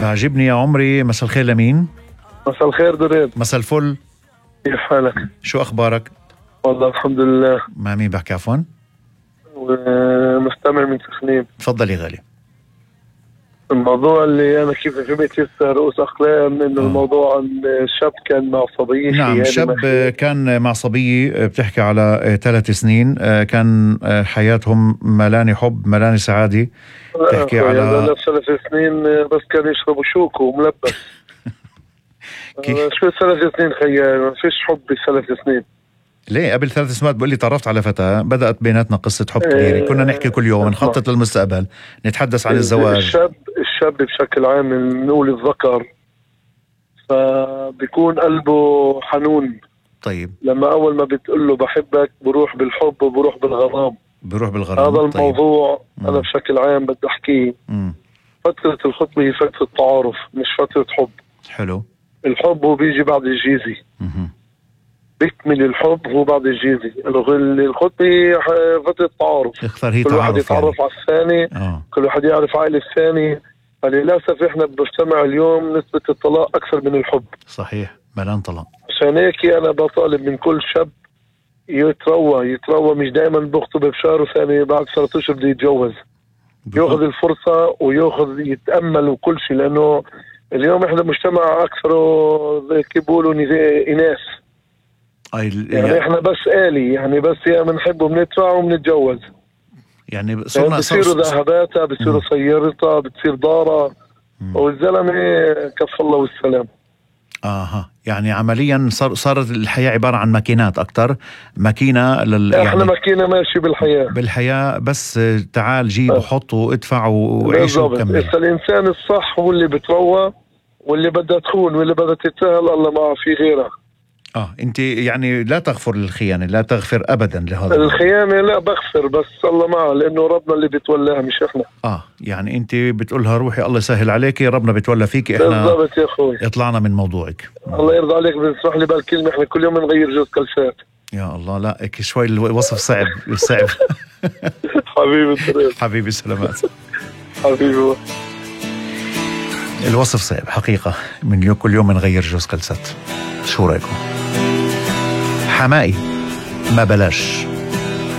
عجبني يا عمري. مساء الخير لمين؟ مساء الخير دريد. مساء الفل. كيف حالك؟ شو أخبارك؟ والله الحمد لله. مع مين بحكي عفوا؟ مستمع من سخنين. تفضل يا غالي. الموضوع اللي أنا كيف فهمت لسه رؤوس أقلام إنه الموضوع عن شاب كان مع صبية. نعم، شاب كان مع صبية بتحكي على 3 سنين، كان حياتهم ملاني حب ملاني سعادة. بتحكي على 3 سنين بس كانوا يشربوا شوك وملبس. شو 3 سنين خيال؟ ما فيش حب ب3 سنين. ليه؟ قبل 3 سنوات بقول لي تعرفت على فتاة، بدأت بيناتنا قصة حب كبيرة، كنا نحكي كل يوم، نخطط للمستقبل، نتحدث عن الزواج. الشاب بشكل عام نقول الذكر فبيكون قلبه حنون. طيب لما أول ما بتقول له بحبك بروح بالحب وبروح بالغرام. هذا الموضوع. طيب. أنا بشكل عام بدي أحكيه. فترة الخطبة هي فترة تعارف مش فترة حب. حلو. الحب هو بيجي بعد الجيزي. بيكمل الحب هو بعد الجيزي. الخطبة هي فترة تعارف. اختار هي كل تعارف واحد يتعرف يعني على الثاني. كل واحد يعرف عائلة الثاني. فللأسف احنا بمجتمع اليوم نسبة الطلاق أكثر من الحب. صحيح، ملان طلاق. عشان هيك أنا بطالب من كل شاب يتروى مش دائما بخطب بشهر وثاني بعد 3 أشهر بده يتجوز. ياخذ الفرصة وياخذ يتأمل وكل شيء، لأنه اليوم احنا مجتمع أكثره زي كيف بيقولوا إناث. يعني احنا بس آلي، يعني بس يا بنحب وبنتبع وبنتجوز. يعني بصيروا ذهباتها، بصيروا سيارتها، بتصير دارها، والزلمة كف الله والسلام. يعني عمليا صارت الحياة عبارة عن ماكينات أكتر. ماكينة احنا يعني ماكينة ماشي بالحياة بس تعال جيب وحط وادفع وعيش وكمل. الإنسان الصح هو اللي بتروى، واللي بدها تخون واللي بدها تتساهل الله ما في غيرها. انت يعني لا تغفر للخيانة، لا تغفر ابدا لهذا الخيانة. لا بغفر بس الله معه، لانه ربنا اللي بتولاها مش احنا. يعني انت بتقولها روحي الله يسهل عليك، ربنا بتولى فيك. احنا بالضبط يا اخوي، اطلعنا من موضوعك. الله يرضى عليك. بتسمح لي بالكلمة، احنا كل يوم نغير جوز كلسات. يا الله، لا شوي الوصف صعب. حبيبي سلامات. حبيبي الوصف صعب حقيقة. من كل يوم نغير جوز كلسات. شو رأيكم؟ حمائي ما بلاش.